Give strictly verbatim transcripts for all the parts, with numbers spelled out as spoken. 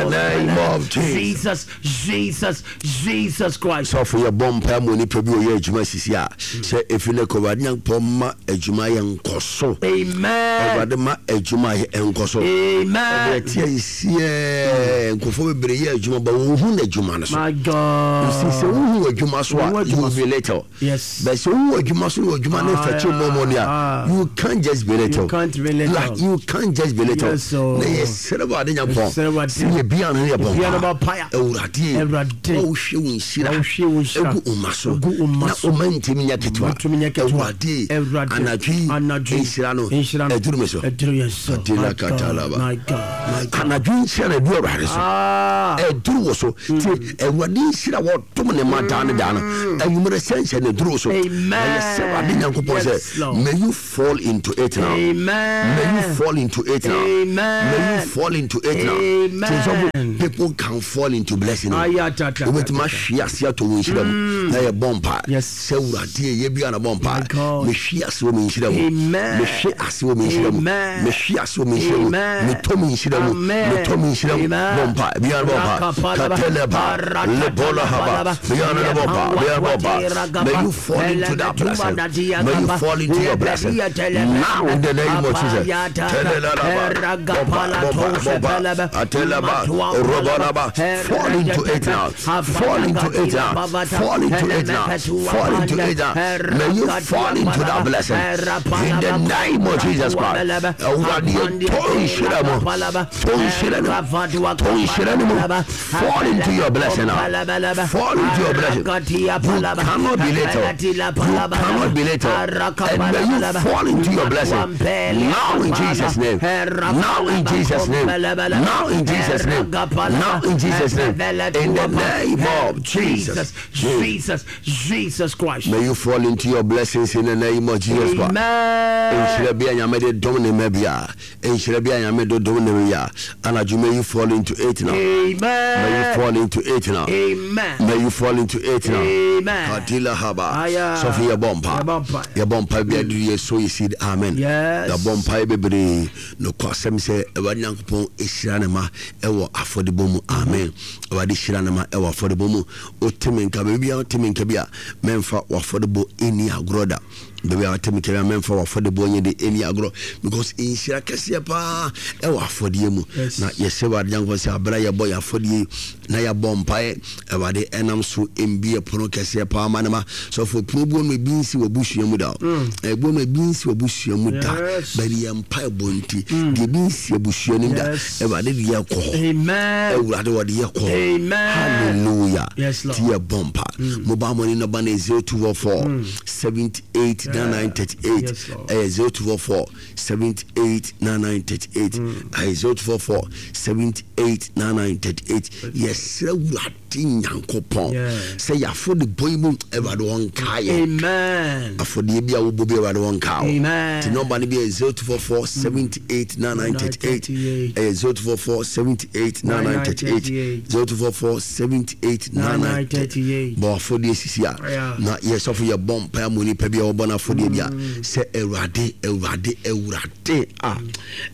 the name of Jesus. Jesus, Jesus, Jesus Christ. Sɔfo, yɛbɔ mpae ma onipa bi a ɔyɛ adwuma sisi a sɛ ɛfiri no kɔ, Awurade Nyankopɔn ma adwuma yɛ nkɔ so. Amen. Awurade ma adwuma yɛ nkɔ so. Amen. Ɛberɛ tia yɛsiɛ nkurɔfoɔ bebree yɛ adwuma ba wɔnhu n'adwuma no so. My God. Si sɛ wohu adwuma so a, Wohu you adwuma will so. be little. Yes. But sɛ wohu adwuma so na adwuma no Ah, fɛkye mmɔmmɔ no ah. a, you can't just be little. You can't be little. Like, you can't just be little. Yes, oh. Na yɛsrɛ Awurade Nyankopɔn Yɛsrɛ Awurade. sɛ yɛbia no ne yɛbɔ Yɛbia no bɔ mpaeɛ. Awurade, Awurade. ma wohwɛ wo nhyira Ma wohwɛ wo nhyira. ɛgu wo ma so, Ɛgu wo mma na so. ɔma ntimi nyɛ ketewa. Ntumi nyɛ ketewa. Awurade, Awurade. anadwo yi, Anadwo yi. nhyira no Nhyira no. ɛduru me so. Ɛduru yɛn so. Adela My God. katalaba. My God. My God. Anadwo nhyira no ɛduru Awurade so. Ah. Ɛduru wo so nti Awurade nhyira wɔdom ne ma daa ne daa no anwummerɛ sɛ nhyɛ ne duru so. Amen. Na yɛsɛ Awurade Nyankopɔn Yes, sɛ Lord. may you fall into it now. Amen. May you fall into it now. Amen. May you fall into it now. Amen. Nti sɔfo, people can fall into blessing o. Ayatata. Wobɛtumi ahwe ase atɔ wo nhyira mu na yɛbɔ mpa Yes. sɛ Awurade ɛyɛ bia na bɔ mpa. My God. Mehwe ase wɔ me nhyira mu. Amen. Mehwe ase wɔ me nhyira mu. Amen. Mehwe ase wɔ me nhyira mu. Amen. Metɔ me nhyira mu. Amen. Metɔ me nhyira mu. Amen. Bɔ mpa bia na bɔ mpa. Rakapalaba. Kateleba lebola haba bia na bɔ mpa, bia na bɔ mpa. May you fall into that blessing. May you fall into your blessing now in the name of Jesus. Telelaba, bɔ mpa, bɔ mpa, bɔ mpa. Atelaba, robalaba. Fall into it now. Fall into it now. Fall into it now. Fall into it now. May you fall into that blessing in the name of Jesus Christ. Awurade, yɛtɔ nhyira mu, tɔ nhyira no mu, tɔ nhyira no mu. Fall into your blessing now. Fall into your blessing. You cannot be little. You cannot be little. And may you fall into your blessing now in Jesus' name. Now in Jesus' name. Now in Jesus' name. Now in Jesus' name. In the name of Jesus. Jesus, Jesus Christ. May you fall into your blessings in the name of Jesus Christ. Amen. Nhyira bi a Nyame de dom ne ma bi a, nhyira bi a Nyame de dom ne ma bi a, anadwo may you fall into it now. May you Amen. fall into it now. Amen. May you fall into it now. Amen. Kadila haba. Aya. Sɔfo, yɛbɔ mpa. Yɛbɔ mpa. Yɛbɔ mpa bi aduru yɛ so yɛ seed. Amen. Yes. Yɛbɔ mpa bebree nokɔ asɛm sɛ Awurade Nyankopɔn ɛhyira ne ma ɛwɔ afɔdebɔ mu. Amen. Awurade hyira ne ma ɛwɔ afɔdebɔ mu. Woteme nka baabi a, woteme nka bi a, mɛmfa w'afɔdebɔ ɛni agorɔ da. Baabi a woteme nka bi a, mɛmfa w'afɔdebɔ nyɛ de ɛni agorɔ because nhyira kɛseɛ paa ɛwɔ afɔdeɛ mu. Yes. Na yɛsɛ Awurade Nyankopɔn sɛ aberɛ a yɛbɔ yɛ afɔdeɛ yi na yɛabɔ mpaeɛ, Awurade ɛnam so mbie pono kɛseɛ paa ma ne ma. Sɔfo, pono buo no ebi nsi wɔ busua mu da o. Ɛbuo no ebi nsi wɔ busua mu da. Yes. Bɛde yɛ mpaebɔ nti deɛ ebi nsi abusua no mu da, Yes. Awurade de yɛ kɔ hɔ. Amen. Awurade wɔde yɛ kɔ. Amen. Hallelujah. Yes, Lord. Ti yɛ bɔ mpa. Mobile money number no zero two four four seventy-eight ninety-nine thirty-eight. Yes, Lord. Ɛyɛ zero two four four seventy-eight ninety-nine thirty-eight. Ɛyɛ zero two four four seventy-eight ninety-nine thirty-eight. Yɛsrɛ Awurade Nyankopɔn Yeah. sɛ yɛafɔ de bɔ yi mu, Awurade wɔnka yɛ. Amen. Afɔdeɛ bi a wobɔ bi, Awurade wɔnka wo. Amen. Nti number no bi yɛ zero two four four seventy-eight ninety-nine thirty-eight. Ɛyɛ zero two four four seventy-eight ninety-nine thirty-eight. zero two four four seventy-eight ninety-nine thirty-eight. Bɔ afɔdeɛ sisi a Yeah. na yɛsɔfo yɛbɔ mpaeɛ ma onipa bi a wɔbɔ no afɔdeɛ bi a sɛ Awurade, Awurade, Awurade a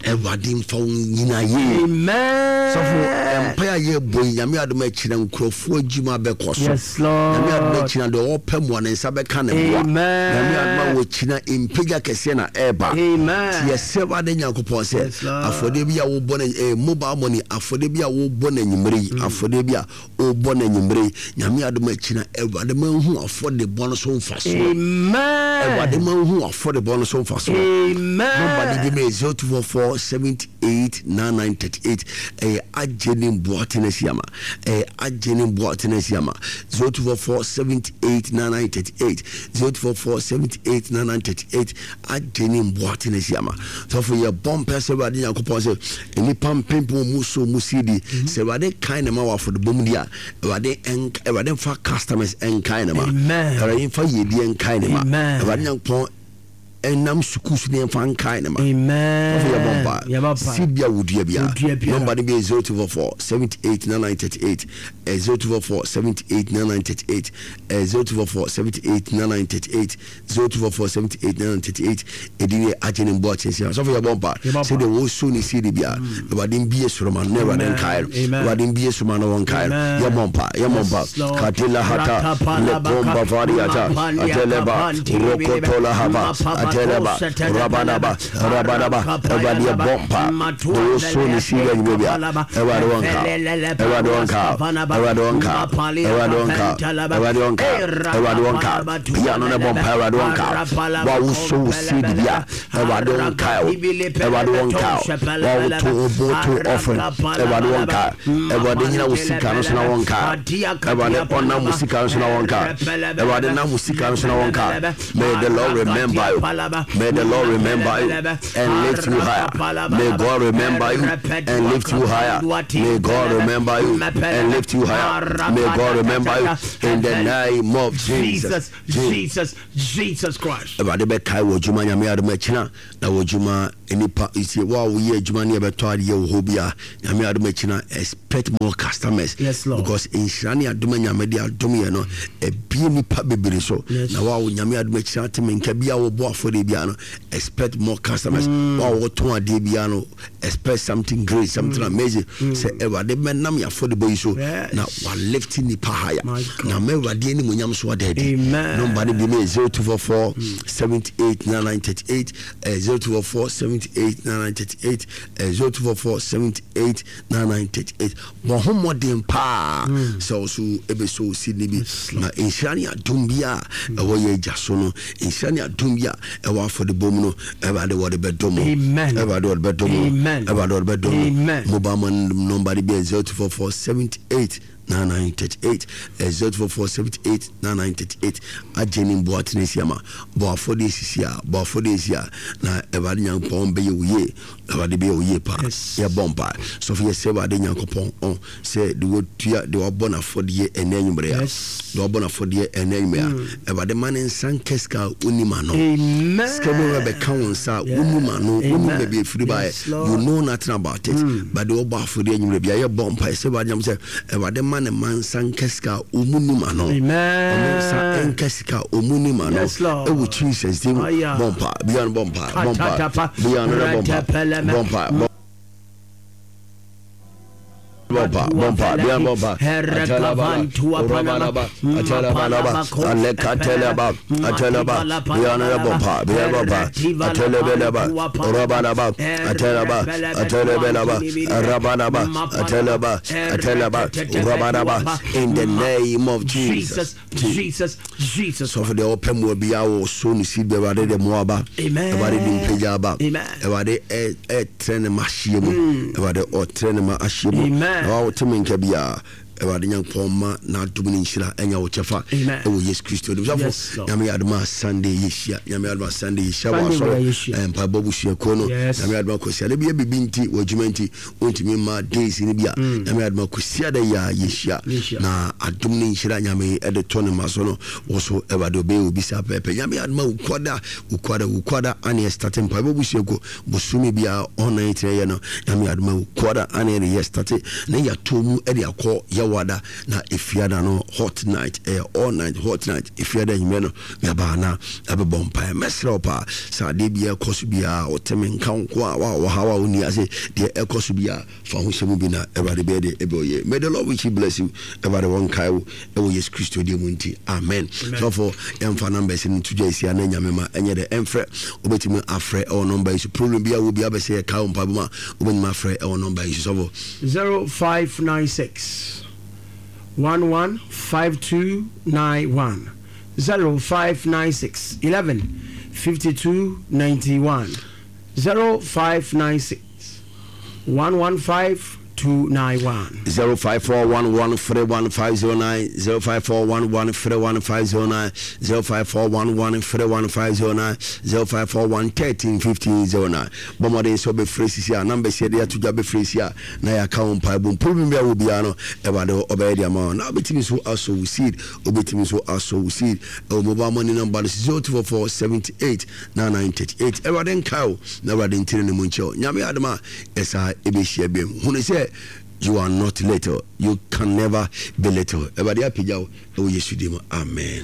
Awurade mfa wo nyina yie. Amen. Sɔfo, mpaeɛ a yɛbɔ yi, Nyame adom akyerɛ nkurɔfoɔ adwuma bɛkɔ so. Yes, Lord. Nyame adom akyina deɛ ɔpɛ mmoa ne nsa bɛka ne mmoa. Amen. Nyame adom a wɔkyina mpagya kɛseɛ na ɛreba. Amen. Nti yɛsɛ Awurade Nyankopɔn sɛ Yes, Lord. afɔdeɛ bi a wobɔ no eh, mobile money afɔdeɛ bi a wobɔ no anwummerɛ yi, afɔdeɛ bi a wobɔ no anwummerɛ yi, Nyame adom akyina Awurade ma nhu afɔdebɔ no so mfa so. Amen. Awurade ma nhu afɔdebɔ no so mfa so. Amen. Number no bi ma zero two four four seventy-eight ninety-nine thirty-eight. Ɛyɛ agye ne mboate no asiama. Ɛyɛ agye ne mboate no asiama. zero two four four seventy-eight ninety-nine thirty-eight. zero two four four seventy-eight ninety-nine thirty-eight. Agye ne mboate no asiama. Sɔfo, yɛ bɔ mpɛ sɛ Awurade Nyankopɔn sɛ nnipa mpempem mu so mu si di sɛ Awurade kan ne ma wɔ afɔdebɔ mu di a, Awurade ɛnk- Awurade mfa customers ɛnkan ne ma. Amen. Awurade mfa yiedie nkan ne ma. Amen. Awurade Nyankopɔn ɛnam sukuu so ne yɛmfa nkae ne ma. Amen. Ɔfo yɛbɔ mpa. Yɛbɔ mpa. Seed bi a wodua bia. Wodua biara. Number no bi yɛ zero two four four seventy eight nine nine thirty eight, zero two four four seventy eight nine nine thirty eight, zero two four four seventy eight nine nine thirty eight, zero two four four seventy eight nine nine thirty eight. Ɛdi ne agye ne mboa kyɛnse. Sɔfo yɛbɔ mpa. Yɛbɔ mpa. Sɛdeɛ wɔso ne seed bia, Awurade mbie soro ma no na Awurade nkae no. Amen. Awurade mbie soro ma no wɔn nkae no. Amen. Yɛbɔ mpa. Yɛbɔ mpa. Yes, Lord. Katila hata lekomba variata ateleba rokotola haba ateleba rabanaba rabanaba. Awurade yɛbɔ mpa. Wɔso ne seed anwummerɛ bia, Awurade wɔn nka. Awurade wɔn nka. Awurade wɔn nka. Awurade wɔn nka. Awurade wɔn nka. Awurade wɔn nka. Bia no ne bɔ mpa. Awurade wɔn nka. Wa woso wo seed bia, Awurade wɔn nka wo. Awurade wɔn nka wo. Wa woto wo bo to offering, Awurade wɔn nka. Awurade nyina wo sika no so na wɔn nka. Awurade ɔnam wo sika no so na wɔn nka. Awurade nam wo sika no so na wɔn nka. May the Lord remember you. May the Lord remember you and lift you higher. May God remember you and lift you higher. May God remember you and lift you higher. May God remember you in the name of Jesus. Jesus, Jesus, Jesus Christ. Awurade bɛkae wɔ adwuma. Nyame adom akyina na wɔ adwuma nipa nti wo a woyɛ adwuma ne yɛbɛtɔ adeɛ wɔ hɔ bi a, Nyame adom akyina, expect more customers. Yes, Lord. Because nhyira ne adom a Nyame de adom yɛ no ebie nipa bebree so. Yes. Na wo a wo Nyame adom akyina te me nka bi a wɔbɔ afɔdeɛ bia no, expect more customers. Wo a wɔtɔn adeɛ bia no, expect something great, something amazing, sɛ Awurade bɛnam yɛ afɔdebɔ yi so Yes. na walift nipa higher. My God. Na ma Awurade animonyam so ada adi. Amen. Number no bi no yɛ zero two four four seventy-eight ninety-nine thirty-eight, eh, zero two four four seventy-eight ninety-nine thirty-eight, eh, zero two four four seventy-eight ninety-nine thirty-eight. Bɔ ho mmɔden paa sɛ wo so ɛbɛsɔ wo seed no bi na nhyira ne adom bi a ɛwɔ yɛ agya so no, nhyira ne adom bi a ɛwɔ afɔdebɔ mu no, Awurade wɔde bɛdɔ mu. Amen. Awurade wɔde bɛdɔ mu. Amen. Awurade wɔde bɛdɔ mu. Amen. Mobile money number no bi yɛ zero two four four seventy-eight ninety-nine thirty-eight, eh, zero two four four seventy-eight ninety-nine thirty-eight. Agye ne mboa tene si ama bɔ afɔdeɛ sisi a, bɔ afɔdeɛ si a, na Awurade Nyankopɔn bɛyɛ wo yie. Awurade bɛyɛ wo yie paa. Yes. Yɛbɔ mpa. Sɔfo, yɛsɛ Awurade Nyankopɔn ɔn sɛ de watua de wabɔ n'afɔdeɛ ɛnɛ anwummerɛ a, Yes. de wabɔ n'afɔdeɛ ɛnɛ anwummerɛ a, Awurade ma ne nsa nka sika a wonim ano. Amen. Sika bi wɔ bɛka wo nsa a wonim ano, wonim Amen. baabi efiri baeɛ. Yes, Lord. You know nothing about it, but de wɔbɔ afɔdeɛ anwummerɛ bia, yɛbɔ mpa sɛ Awurade Nyam sɛ Awurade ma ne ma nsa nka sika a ɔmu nim ano. Amen. Ɔmo nsa nka sika a ɔmu nim ano. Yes, Lord. Ɛwɔ Jesus din mu. Aya. Bɔ mpa bia no, bɔ mpa, bɔ mpa Katatapa. bia no, bɔ mpa, Ratapeleme. bɔ mpa, bɔ bɔmpa, bɔmpa bia, bɔmpa. Atalaba, urabalaba, atalabalaba, alekatelaba, atalaba bia no, bɔmpa bia, bɔmpa, atelebeleba, urabalaba, atalaba, atelebelaba, rabalaba, atalaba, atalaba, urabalaba, in the name of Jesus. Jesus, Jesus, Jesus. Sɔfo, deɛ ɔpɛ mmoa biara wɔ so ne si bi, Awurade de mmoa ba. Amen. Awurade de mpagya aba. Amen. Awurade ɛ- ɛtrɛ ne ma ahyia mu. Awurade ɔtrɛ ne ma ahyia mu. Amen. Na wawote me nka biara, Awurade Nyankopɔn ma n'adom ne nhyira ɛnya wo kyɛfa Amen. ɛwɔ Yesu Kristo dim. Sɔfo, Yes, Lord. Nyame yɛ adom a, Sunday yɛhyia. Nyame adom a, Sunday yɛhyia wɔ Sunday asɔre wɔ yɛhyia. Eh, mpaebɔ busuakuo no. Yes. Nyame adom a, Kwasiada bi yɛ biribi nti, wɔ adwuma nti wontumi ma days no bi a, Nyame adom a, Kwasiada yi a yɛhyia. Yɛhyia. Na adom ne nhyira Nyame ɛde tɔ ne ma so no wɔ so, Awurade ɔbɛyɛ obi saa pɛpɛ. Nyame adom a, Wukuada, Wukuada, Wukuada ane ɛstart mpaebɔ busuakuo bosome biara ɔnan tena yɛ no. Nyame adom a, Wukuada ane ɛde yɛ start na yɛato mu ɛde akɔ Yɛwada na Efiada no hot night, ɛyɛ all night hot night. Efiada anwummerɛ no yɛbaa na ɛbɛbɔ mpaeɛ. Mɛsrɛ wo paa sɛ adeɛ biara ɛkɔ so biara, wɔteme nka wo nko a wa wɔhaw a wonni ase, deɛ ɛkɔ so biara, fa ho hyɛ mu bi na Awurade bɛyɛ deɛ ɛbɛ ɔyɛ. May the Lord richly bless you. Awurade wɔnkae wo ɛwɔ Yesu Kristo deɛ mu nti, amen. Sɔfo, yɛmfa numbers no to dwa ɛsia na Nyame ma ɛnyɛ dɛ ɛmfrɛ. Wobɛtumi afrɛ ɛwɔ number yi so. Problem bi a wɔ bi abɛsɛ yɛkae wo mpaebɔ mu a, wobɛtumi afrɛ ɛwɔ number yi so, sɔfo. zero five nine six one one five two nine one, zero five nine six eleven fifty-two ninety-one, zero five nine six one one five two nine one. zero five four one one three one five zero nine zero five four one one three one five zero nine zero five four one one three one five zero nine zero five four one thirteen fifteen zero nine. Bɔ mmɔden sɛ wobɛfrɛ sisi a numbers yɛde ato dwa bɛfrɛ si a na yɛaka wo mpaebɔ mpo bi a wɔ biara no, Awurade ɔbɛyɛ de ama wo. Na wobɛtumi nso asɔ wo seed, wobɛtumi nso asɔ wo seed ɛwɔ mobile money number no zero two four four seventy eight nine nine thirty eight. Awurade nkae wo na Awurade ntene ne mu nkyɛ wo. Nyame adom a yɛsaa ɛbɛhyia biam. Hunu sɛ you are not little, you can never be little. Awurade apagya wo ɛwɔ Yesu din mu, amen.